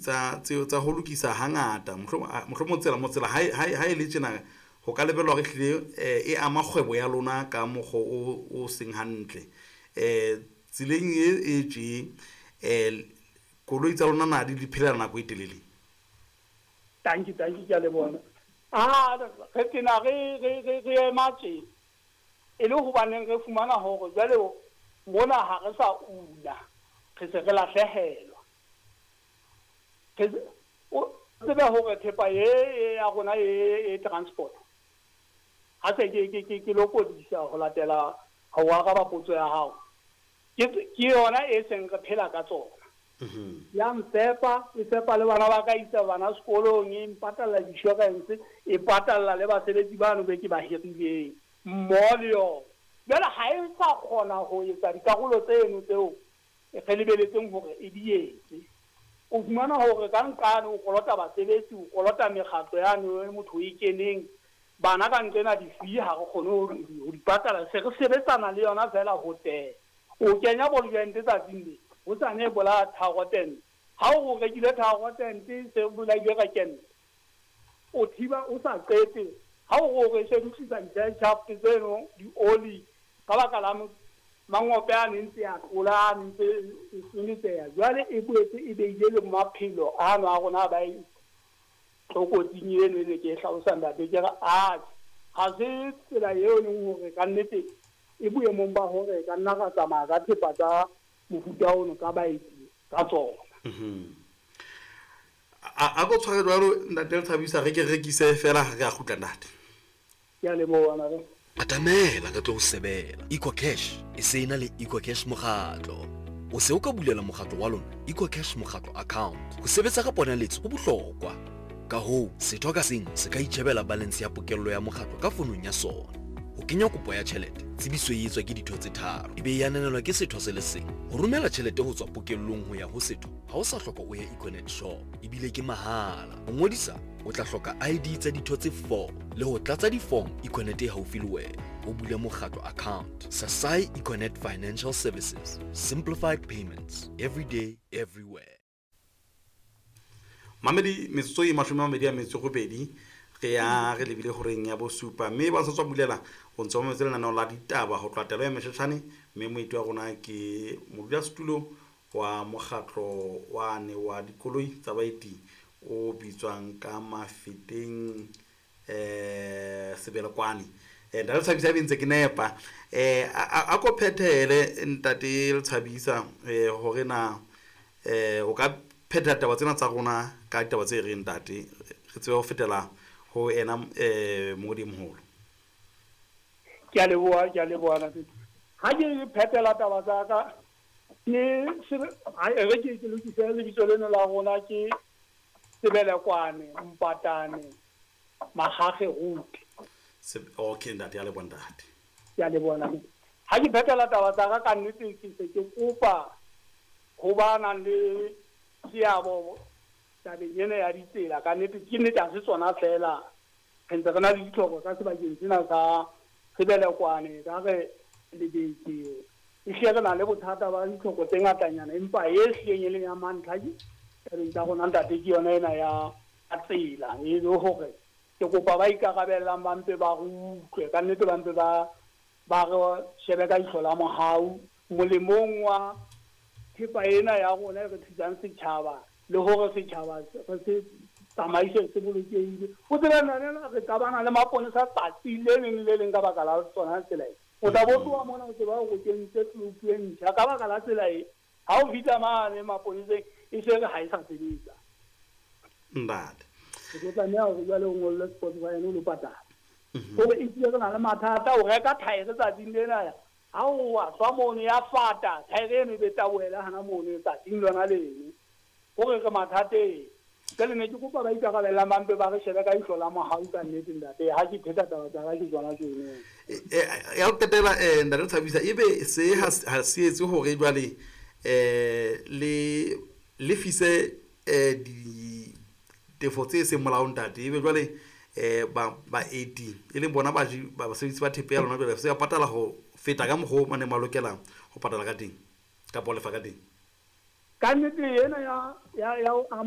tsa tse tsa ho lokisa hangata, mohlomong tsela mo tsela ha e le tjena, ho ka lebellwa hore ehlile e ama kgwebo ya lona ka mokgwa o seng hantle. Tseleng e tje, koloi tsa lona na di phela nako e telele? Tanki, tanki, ke a leboha. Ah, re tena re ema tje e le hobaneng re fumana hore jwale mona ha re sa una, re se re lahlehelwa. Re o tsebe hore thepa e ya rona e transport ha se ke lokodisa ho latela ho araba potso ya hao, ke yona e seng re phela ka tsona. Ya mfepa, e fepa le bana ba ka, isa bana sekolong, e mpatalla di-insurance, e patalla le basebetsi bano be ke ba hirileng mmoho le yona. Jwale ha e sa kgona ho etsa dikarolo tseno tseo re lebeletseng hore e di etse. O fumana hore ka nqane o kolota basebetsi, o kolota mekgatlo yane motho o e keneng, bana ka nqena di-fee ha re kgone ho di patala, se re sebetsana le yona fela ho tela. O kenya ball joint tsatsing le hosane e bolaya tharo tente, ha o rekile tharo tente se bolaile ka kente, o thiba o sa qete. Ha o re se lokisa di-shaft tseno di-oli ka baka la mangope a ne ntse a tlola, a ntse e senyetseha. Jwale e boetse e beile le maphelo ano a rona ba e tlokotsing eno e ne ke e hlalosa, ntate. Ke re atjhe, ha se tsela eo e leng hore ka nnete e boemong ba hore ka nna ra tsamaya ka thepa tsa mofuta ono ka baeti ka tsona. A ko tshware jwalo, ntate Lethabisa, re ke rekise fela, re a kgutla, ntate. Ke a leboha, nare. Atamela re tlo o sebela. EcoCash e se e na le EcoCash mokgatlo. O se o ka bulela mokgatlo wa lona EcoCash mokgatlo account. Ho sebetsa ka ponaletso ho bohlokwa. Ka hoo, setho ka seng se ka itjhebela balance ya pokello ya mokgatlo ka fonong ya sona. Ho kenya kopo ya tjhelete, tsebiso e etswa ke ditho tse tharo, e be e ananelwa ke setho se le seng. Ho romela tjhelete ho tswa pokellong ho ya ho setho, ha o sa hloka o ye Econet shop, ebile ke mahala. Ho ngodisa, o tla hloka ID tsa ditho tse 4 le ho tlatsa di-form Econet e haufi le wena. O bule mokgatlo account. Sasai Econet Financial Services. Simplified payments. Every day, everywhere. Mamedi, metsotso e 28 re ya re lebile horeng ya bosupa, mme ba sa tswa bulela o ntse o mametse lenaneo la ditaba ho tloha telo ya Mesheshane, mme moeti wa rona ke modulasetulo wa mokgatlo wane wa dikoloi tsa baeti o bitswang ka Mafeteng, Sebelekwane. Ntate Lethabisa, ebe ntse ke nepa, a ko phethele, ntate Lethabisa, hore na o ka phetha taba tsena tsa rona ka ditaba tse reng, ntate, re tsebe ho fetela ho ena mongodi e moholo. Ke a leboha, ke a leboha, ntate. Ha ke phethela taba tsa ka, ke re ke lokise lebitso leno la rona, ke Sebelekwane Mpatane Magage Route. Okay, ntate, ya leboha, ntate. Ke a leboha, ntate. Ha ke phethela taba tsa ka, ka nnete ke se ke kopa ho ba nang le seabo tabeng ena ya ditsela. Ka nnete ke nnete, ha se tsona fela, re ntse re na le ditlhoko ka sebakeng sena sa Sebelekwane, ka re lebetse, ehlile re na le bothata ba ditlhoko tse ngatanyana, empa e hlileng e leng ya mantlha ke tabeng tsa rona, ntate, ke yona ena ya tsela. E le hore ke kopa ba ikarabellang ba mpe ba re utlwe ka nnete, ba mpe ba re shebe ka ihlo la mohau molemong wa thepa ena ya rona e re thusang setjhaba, le hore setjhaba re se tsamaise se bolokehile. O tsebe nna re qabana le maponesa tsatsi le leng le leng ka baka la tsona tsela e. O tla bo tloha mona o tseba hore o kentse tlopu e ntjha, ka baka la tsela e, ha o fihla mane maponeseng e se re ha e sa sebetsa. Ntate. O tlo tlameha hore jwale o ngolle sport fine o lo patala. Hore e hlile re na le mathata, o reka thaere tsatsing lena, ha o wa tswa mono ya fata thaere eno, e be tabohele hana mono tsatsing lona leno. Hore re mathateng. Jwale ne ke kopa ba ikarabellang ba mpe ba re shebe ka ihlo la mohau ka nnete, ntate. Ha ke pheta taba tsa ka ke tsona tseno. Ya ho qetela, ntate Thabisa, ebe se ha se etse hore jwale le lefise ditefo tse seng molaong, ntate, ebe jwale ba baeti e leng bona baji ba basebedisi ba thepa ya lona jwale se ba patala ho feta ka mokgwa o ba neng ba lokela ho patala ka teng kapa ho lefa ka teng? Ka nnete ena ya ho ama